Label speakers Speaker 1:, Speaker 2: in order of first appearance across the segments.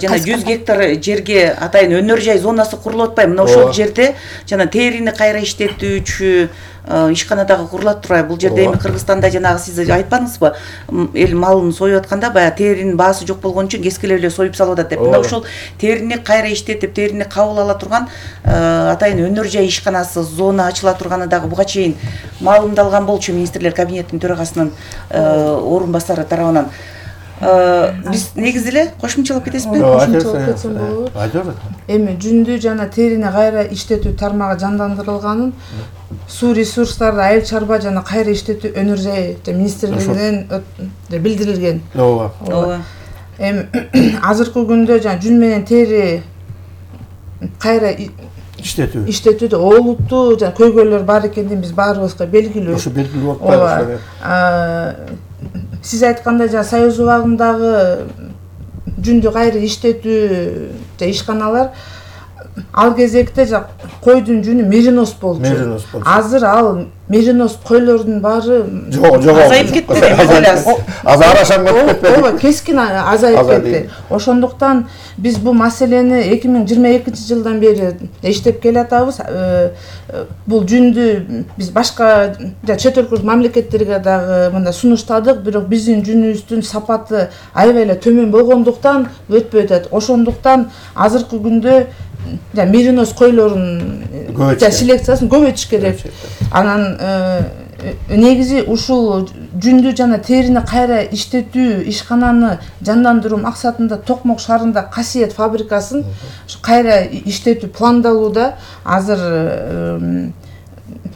Speaker 1: жана 100 гектар жерге атайын өнөр жай зонасы курулуп атпайбы? Мына ошол жерде жана терини кайра иштетүүчү ишкана дагы курулат турбайбы? Бул жерде эми Кыргызстанда жанагы сиз айтпадыңызбы? Эл малын союп атканда баягы теринин баасы жок болгон үчүн кескилеп эле союп салып атат деп. Мына ошол терини кайра иштетип, терини кабыл ала турган атайын өнөр жай ишканасы зона ачыла турганы дагы буга чейин маалымдалган болчу министрлер кабинетинин төрагасынын орун басары тарабынан. Биз негизи эле кошумчалап кетесизби?
Speaker 2: Кошумчалап кетсем болобу? Эми жүндү жана терини кайра иштетүү тармагы жандандырылганын суу ресурстарды айыл чарба жана кайра иштетүү өнөр жай министрлигинен билдирилген.
Speaker 3: Ооба.
Speaker 2: Эми азыркы күндө жана жүн менен тери кайра иштетүүдө олуттуу жана көйгөйлөр бар экенин биз баарыбызга белгилүү.
Speaker 3: Ошо белгилүү болуп калды.
Speaker 2: Сиз айткандай жана Союз убагындагы жүндү кайра иштетүү ишканалар ал кезекте койдун жүнү меринос болчу. Азыр ал меринос койлордун баары
Speaker 1: азайып кетти.
Speaker 3: Азарашан кетти.
Speaker 2: Ооба, кескин азайып кетти. Ошондуктан биз бул маселени 2022-жылдан бери иштеп келатабыз. Бул жүндү биз башка чет өлкө мамлекеттерге дагы мындай сунуштадык, бирок биздин жүнүбүздүн сапаты аябай эле төмөн болгондуктан өтпөй атат. Ошондуктан азыркы күндө меринос койлорун селекциясын көбөйтүш керек. Анан негизи ушул жүндү жана терини кайра иштетүү ишкананы жандандыруу максатында Токмок шаарында Касиет фабрикасын кайра иштетүү пландалууда. Азыр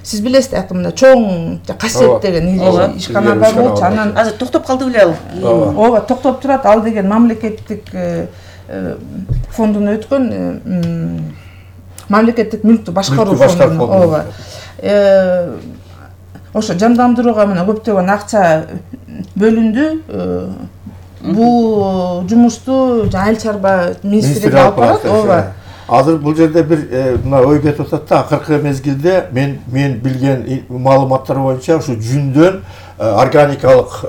Speaker 2: сиз билесиз, мына чоң Касиет деген ишкана бар болчу. Анан
Speaker 1: азыр токтоп калды беле ал?
Speaker 2: Ооба, токтоп турат. Ал деген мамлекеттик фондун өткөн мамлекеттик мүлктү башкаруу фонду. Ооба. Ошо жандандырууга мына көптөгөн акча бөлүндү. Бул жумушту айыл чарба министрлиги алып барат. Ооба.
Speaker 3: Азыр бул жерде бир мына ой кетип атат да, акыркы мезгилде мен билген маалыматтар боюнча ушу жүндөн органикалык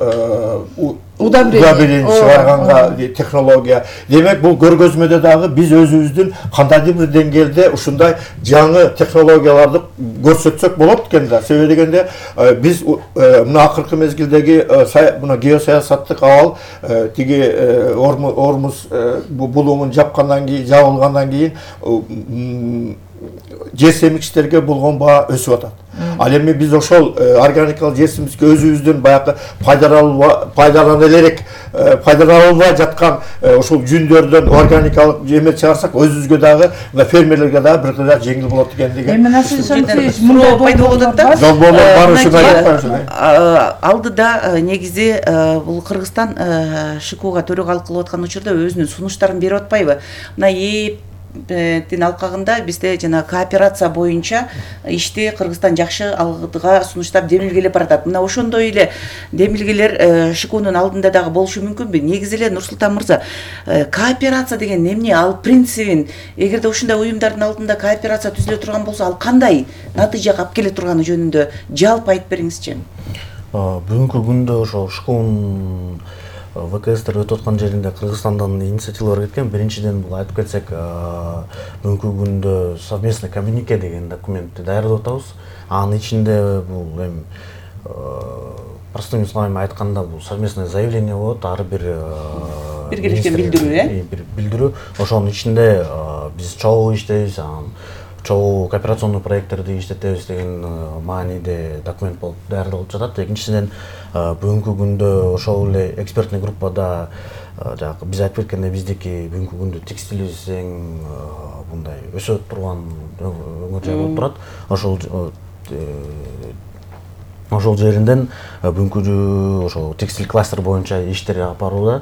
Speaker 3: удобрение чыгарганга технология. Демек бул көргөзмөдө дагы биз өзүбүздүн кандайдыр бир деңгээлде ушундай жаңы технологияларды көрсөтсөк болот экен да. Себеби дегенде биз мына акыркы мезгилдеги мына геосаясаттык абал тиги Ормуз булуңун жабылгандан кийин жер семикчилерге болгон баа өсүп атат. Ал эми биз ошол органикалык жер семикчилерге өзүбүздүн баягы пайдаланылбай жаткан ошол жүндөрдөн органикалык жемет чыгарсак, өзүбүзгө дагы фермерлерге дагы бир кыйла жеңил болот экендиги.
Speaker 2: Эми насыйшанчы мындай
Speaker 1: пайда болуп атат да.
Speaker 3: Жолборлор бар ушундай.
Speaker 1: Алдыда негизи бул Кыргызстан ШКУга төрагалык кылып аткан учурда өзүнүн сунуштарын берип атпайбы? Мына тин алкагында бизде жана кооперация боюнча ишти Кыргызстан жакшы алдыга сунуштап демилгелеп баратат. Мына ошондой эле демилгелер ШКУнун алдында дагы болушу мүмкүнбү? Негизи эле Нурсултан мырза, кооперация деген эмне? Ал принцибин, эгерде ушундай уюмдардын алдында кооперация түзүлө турган болсо, ал кандай натыйжага алып келе турганы жөнүндө жалпы айтып бериңизчи.
Speaker 4: Бүгүнкү күндө ошо ШКУнун ВКСтер өтүп аткан жеринде Кыргызстандан инициативалар кеткен. Биринчиден бул айтып кетсек, бүгүнкү күндө совместный коммюнике деген документти даярдап атабыз. Анын ичинде бул эми простыми словами айтканда бул совместное заявление болот, ар бир
Speaker 1: биргелешкен билдирүү,
Speaker 4: бир билдирүү. Ошонун ичинде биз чогуу иштейбиз, чогуу кооперационный проекттерди иштетебиз деген мааниде документ болуп даярдалып жатат. Экинчиден бүгүнкү күндө ошол эле экспертный группада биз айтып кеткендей биздики бүгүнкү күндө текстилибиз эң мындай өсөт турган өңүр жай болуп турат. Ошол жеринден бүгүнкү ошол текстиль кластер боюнча иштер алып барууда.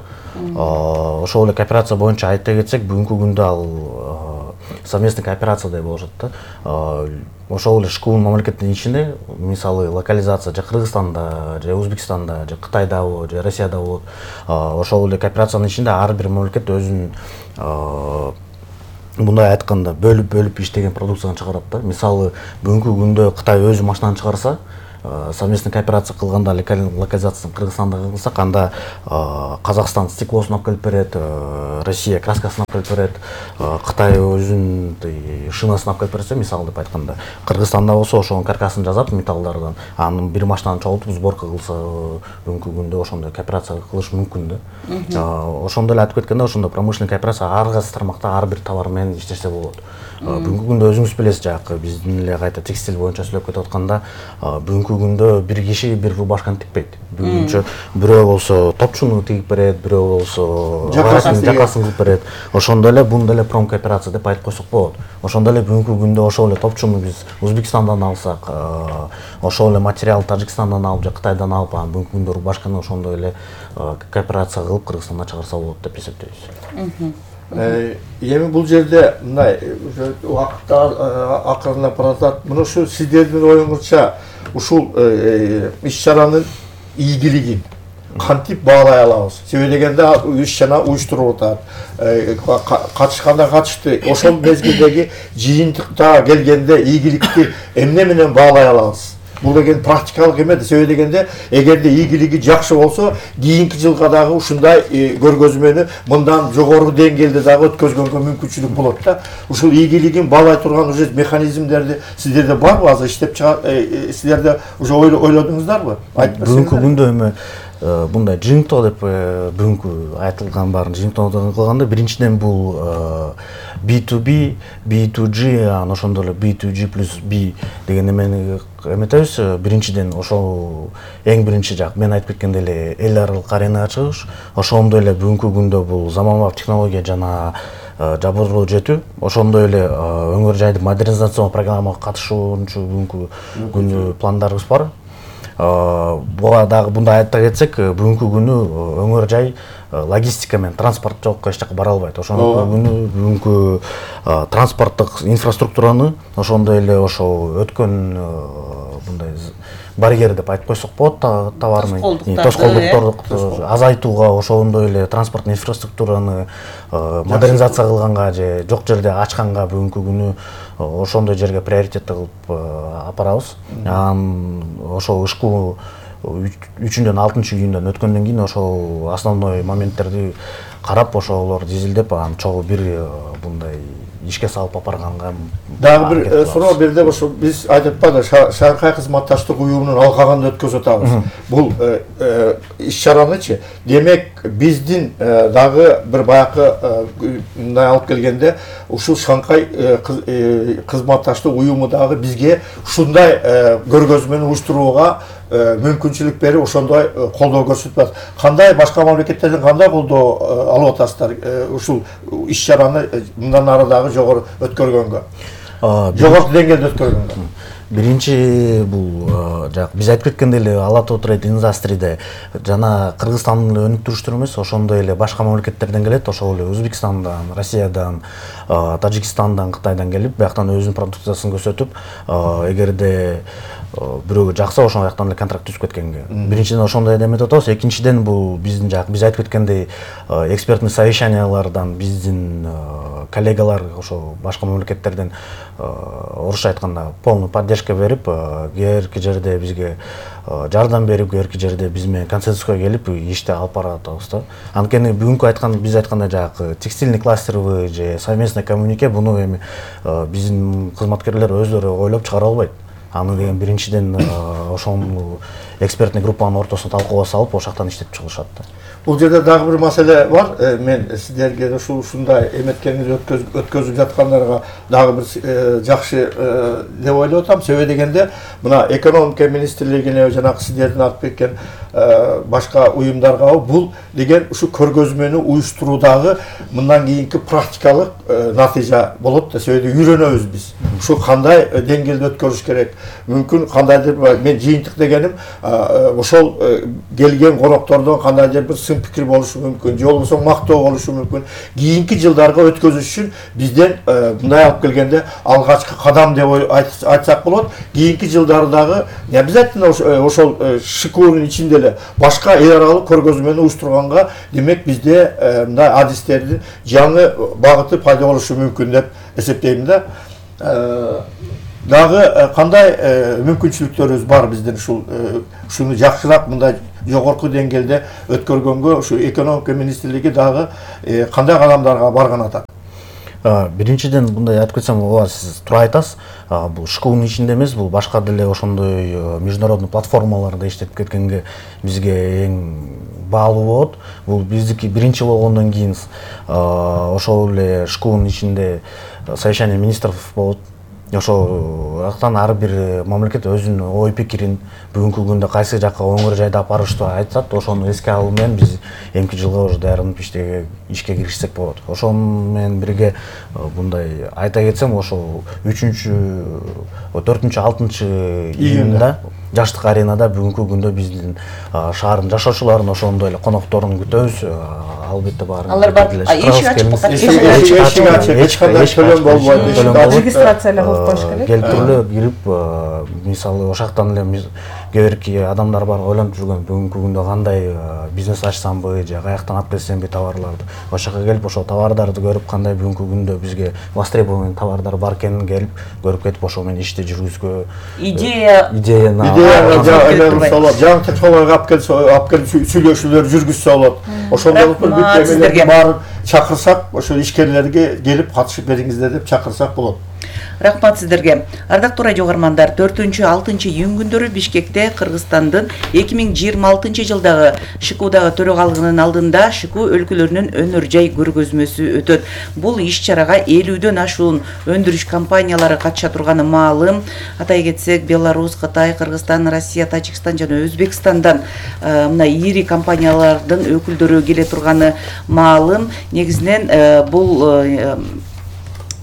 Speaker 4: Ошол эле кооперация боюнча айта кетсек, бүгүнкү күндө ал совместный кооперация деп болушат да. Ошол эле ШКУнун мамлекеттин ичинде, мисалы локализация же Кыргызстанда, же Өзбекстанда, же Кытайда болот, же Россияда болот. Ошол эле кооперациянын ичинде ар бир мамлекет өзүнүн мындай айтканда бөлүп иштеген продукцияны чыгарат да. Мисалы бүгүнкү күндө Кытай өзү машинаны чыгарса, совместный кооперация кылганда локализациясын Кыргызстанда кылсак, анда Казакстан стеклосун алып келип берет, Россия краскасын алып келип берет, Кытай өзүнүн шинасын алып келип берсе, мисалы деп айтканда, Кыргызстанда болсо ошонун каркасын жасап металлдардан, анын бир машинаны чогултуп сборка кылса, бүгүнкү күндө ошондой кооперация кылыш мүмкүн да. Ошондой эле айтып кеткенде, ошондой промышленный кооперация ар кайсы тармакта ар бир товар менен иштесе болот. Бүгүнкү күндө өзүңүз билесиз, жакы биздин эле кайта текстиль боюнча сүйлөп кетип атканда, бүгүнкү күндө бир киши бир рубашканы тикпейт. Бүгүнчө бирөө болсо топчуну тигип берет, бирөө болсо жакасын кылып берет. Ошондой эле бунда эле промкооперация деп айтып койсок болот. Ошондой эле бүгүнкү күндө ошол эле топчуну биз Өзбекстандан алсак, ошол эле материал Тажикстандан алып же Кытайдан алып, бүгүнкү күндө рубашканы ошондой эле кооперация кылып Кыргызстанда чыгарса болот деп эсептейбиз.
Speaker 3: Эми бул жерде мындай убакыттар акырындап баратат. Мына ушу сиздердин оюңузча ушул иш-чаранын ийгилигин кантип баалай алабыз? Себеби дегенде иш-чара уюштуруп атат. Катышканда катышты. Ошол мезгилдеги жыйынтыкта келгенде ийгиликти эмне менен баалай алабыз? Бул деген практикалык эмес. Себеби дегенде эгерде ийгилиги жакшы болсо, кийинки жылга дагы ушундай көргөзмөнү мындан жогору деңгээлде дагы өткөзгөнгө мүмкүнчүлүк болот да. Ушул ийгилигин баалай турган уже механизмдерди сиздерде барбы? Азыр иштеп сиздерде уже ойлодуңуздарбы?
Speaker 4: Бүгүнкү күндө эми мындай жыйынтоо деп бүгүнкү айтылган баарын жыйынтоо кылганда, биринчиден бул B2B, B2G, ошондой эле B2G плюс B деген эмени эметебиз. Биринчиден ошол эң биринчи жак мен айтып кеткендей эле эл аралык аренага чыгыш. Ошондой эле бүгүнкү күндө бул заманбап технология жана жабырылуу жетүү. Ошондой эле өңөр жайды модернизациялоо программага катышуучу бүгүнкү күнү пландарыбыз бар. Буга дагы мындай айта кетсек, бүгүнкү күнү өңөр жай логистика менен транспорт жокко эч жака бара албайт. Ошондой күнү бүгүнкү транспорттук инфраструктураны ошондой эле ошол өткөн мындай барьер деп айтып койсок болот, товарный тоскоолдуктарды азайтууга, ошондой эле транспорттук инфраструктураны модернизация кылганга же жок жерде ачканга бүгүнкү күнү ошондой жерге приоритет кылып апарабыз. Ошол ышкуу 3-дөн 6-июндан өткөндөн кийин ошол основной моменттерди карап, ошолор дизилдеп, анан чогуу бир мындай ишке салып апарганга. Дагы
Speaker 3: бир суроо берди, ошо биз айтып атпадык, Шанхай кызматташтык уюмунун алкагында өткөзүп атабыз. Бул иш-чаранычы, демек биздин дагы бир баякы мындай алып келгенде, ушул Шанхай кызматташтык уюму дагы бизге ушундай көргөзмөнү уюштурууга мүмкүнчүлүк берип, ошондой колдоо көрсөтүп атат. Кандай башка мамлекеттерден кандай колдоо алып атасыздар ушул иш-чараны мындан ары дагы жогору өткөргөнгө? Жогорку деңгээлде өткөргөнгө.
Speaker 4: Биринчи бул жак биз айтып кеткендей эле Ала Тоо Трейд Индастриде жана Кыргызстандын өнүктүрүштөрү эмес, ошондой эле башка мамлекеттерден келет, ошол эле Өзбекстандан, Россиядан, Тажикстандан, Кытайдан келип, бияктан өзүнүн продукциясын көрсөтүп, эгерде бирөөгө жакса ошол жактан эле контракт түзүп кеткенге. Биринчиден ошондой эметип атабыз. Экинчиден бул биздин жак биз айтып кеткендей экспертный совещаниялардан биздин коллегалар ошол башка мамлекеттерден орусча айтканда полный поддержка берип, кээрки жерде бизге жардам берип, кээрки жерде биз менен консенсуска келип ишти алып баратабыз да. Анткени бүгүнкү биз айткандай жак текстильный кластерби же совместный коммунике, буну эми биздин кызматкерлер өздөрү ойлоп чыгара албайт. Аны деген биринчиден ошол экспертный группанын ортосуна талкууга салып, ошол жактан иштеп чыгышат да.
Speaker 3: Бул жерде дагы бир маселе бар. Мен сиздерге ушундай эметкениңиз өткөзүп жаткандарга дагы бир жакшы деп ойлоп атам. Себеби дегенде, мына экономика министрлигине жанагы сиздердин атып кеткен башка уюмдарга бул деген ушу көргөзмөнү уюштуруудагы мындан кийинки практикалык натыйжа болот да. Себеби үйрөнөбүз биз. Ушу кандай деңгээлде өткөрүш керек? Мүмкүн кандайдыр мен жыйынтык дегеним ошол келген коноктордон кандайдыр бир сын пикир болушу мүмкүн, же болбосо мактоо болушу мүмкүн. Кийинки жылдарга өткөзүш үчүн бизден мындай алып келгенде алгачкы кадам деп айтсак болот. Кийинки жылдардагы обязательно ошол ШКУнун ичинде эле башка эл аралык көргөзмөнү уюштурганга, демек бизде мындай адистердин жаңы багыты пайда болушу мүмкүн деп эсептейм да. дагы кандай мүмкүнчүлүктөрүбүз бар биздин ушуну жакшыраак мындай жогорку деңгээлде өткөргөнгө ушу экономика министрлиги дагы кандай кадамдарга барган атат?
Speaker 4: Биринчиден мындай айтып кетсем, ооба сиз туура айтасыз. Бул ШКУнун ичинде эмес, бул башка деле ошондой международный платформаларда иштеп кеткенге бизге эң баалуу болот. Бул биздики биринчи болгондон кийин ошол эле ШКУнун ичинде совещание министров болот. Ошол жактан ар бир мамлекет өзүнүн ой пикирин бүгүнкү күндө кайсы жакка оңой жайда ап барыштуу айтат. Ошону эске алуу менен биз эмки жылга уже даярданып ишке киришсек болот. Ошол менен бирге мындай айта кетсем, ошол 4-6 июнда жаштык аренада бүгүнкү күндө биздин шаардын жашоочуларын, ошондой эле конокторун күтөбүз. Албетте баары.
Speaker 1: Алар бар. Эшик
Speaker 3: ачык төлөм болбойт.
Speaker 2: Регистрация кылып коюш керек.
Speaker 4: Келип туруп кирип, мисалы ошактан эле кээ бирки адамдар бар ойлонуп жүргөн, бүгүнкү күндө кандай бизнес ачсамбы же каяктан алып келсемби товарларды. Ошока келип ошол товардарды көрүп, кандай бүгүнкү күндө бизге востребованный товардар бар экенин келип көрүп кетип, ошол менен ишти жүргүзгө идеяны
Speaker 3: жаңы технологияга алып келип сүйлөшүүлөр жүргүзсө болот. Ошондой бүт баарын чакырсак, ошол ишкерлерге келип катышып бериңиздер деп чакырсак болот.
Speaker 1: Рахмат сиздерге. Ардактуу радио угармандар, 4-6 июнь күндөрү Бишкекте Кыргызстандын 2026 жылдагы ШКУдагы төрагалыгынын алдында ШКУ өлкөлөрүнүн өнөр жай көргөзмөсү өтөт. Бул иш-чарага 50дөн ашуун өндүрүш компаниялары катыша турганы маалым. Атай кетсек, Беларусь, Кытай, Кыргызстан, Россия, Тажикстан жана Өзбекстандан мына ири компаниялардын өкүлдөрү келе турганы маалым. Негизинен бул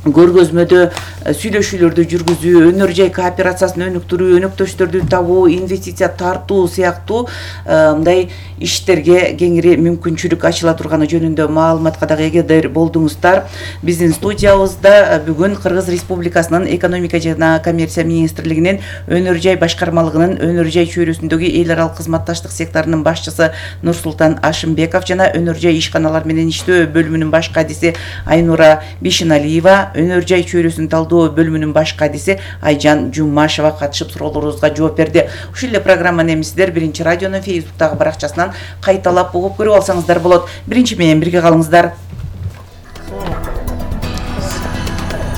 Speaker 1: көргөзмөдө сүйлөшүүлөрдү жүргүзүү, өнөр жай кооперациясын өнүктүрүү, өнөктөштөрдү табуу, инвестиция тартуу сыяктуу мындай иштерге кеңири мүмкүнчүлүк ачыла турганы жөнүндө маалыматка дагы эгедер болдуңуздар. Биздин студиябызда бүгүн Кыргыз Республикасынын экономика жана коммерция министрлигинин өнөр жай башкармалыгынын өнөр жай чөйрөсүндөгү эл аралык кызматташтык секторунун башчысы Нурсултан Ашымбеков жана өнөр жай ишканалар менен иштөө бөлүмүнүн баш кадиси Айнура Бишиналиева, өнөр жай чөйрөсүн талдоо бөлүмүнүн баш кадиси Айжан Жумашева катышып суроолорубузга жооп берди. Ушул эле программаны эми сиздер Биринчи радионун Facebook'тагы баракчасынан кайталап угуп көрүп алсаңыздар болот. Биринчи менен бирге калыңыздар.